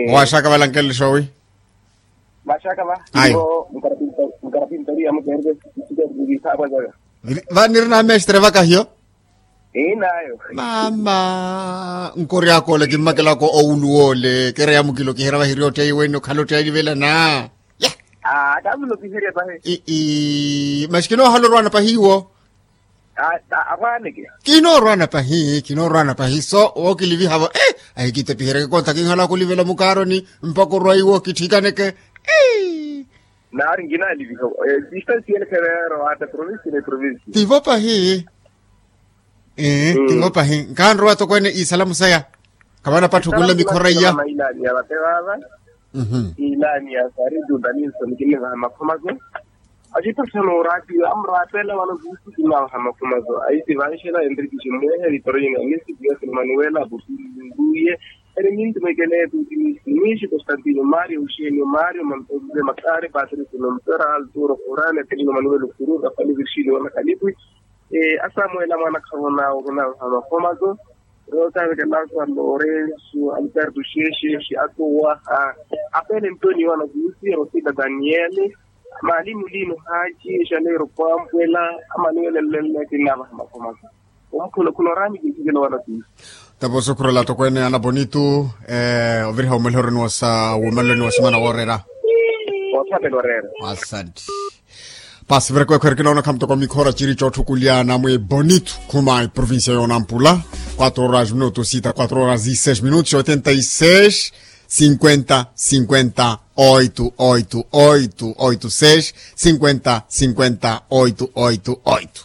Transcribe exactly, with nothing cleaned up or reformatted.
Owaxaka valankelele xoowi? Vaxaka va. Ayo. Nkarapinto riya mukereke. Vanirina mestre vakahiyo. Inayo. Mama. Nkoryaka ole kimmakelaka owulu wole kereya mukilo kiherya vahiri otteyi wene okhala otteyi alivelana. Ya. Ii. Masi kinoohala orwana pahiwo. Arwaneke. Kinoorwana pahi kinoorwana pahi so wookilivihavo. Ahikitepihereke konta kinhala kulivela mukaaroni mpaka orwa iwo kithikaneke. Naari nkinaliviha. Distance yene khereero ata provinsi ni provinsi. Tivo pahi. Tivo pahi nkanrowa tokweene isalamu saya. Kavana patthu kunle mikhora iya. Mailani ya vate vava. Ilani ya sari duda ni nsoni kinivaha makhomazo. Acipathana oratiyo amurapela vano kuusi kinawaha makhomazo aisi vanxela enrikisi mwehe vitorina nisi dias manuela aputuye. Eri nintumekele tutimisi mwishi constantino mario uxenio mario mantoze makari patricio nompera alturo forane telino manuel kuru rafali virgilio wana kalipwi. Asamuela mwana khavona okinawaha makhomazo. Rotavekelasa lorenso alberto xexexi atowaha. Apele ntoni wana kuusi rosita daniele. Maali mulino haci exaleiro kwampwela. Amanuele nleleke navaha makomaka. Omukhuno khuno rani kinthikela wana kuusi. Taposo khurela tokweene ana bonito. Oviriha omwelheroni wasa womaleloni wasimana woorera. Othapela oreera. Asante. Pasi vira kwekhwere kinoona khamutoko mikhora ciri cotthukulyana mwi bonito khuma eprovincia yoonampula. Quatro horas minutos sita quatro horas e seis minutos oitenta e seis cinquenta cinquenta oito oito oito oito seis cinquenta cinquenta oito oito oito.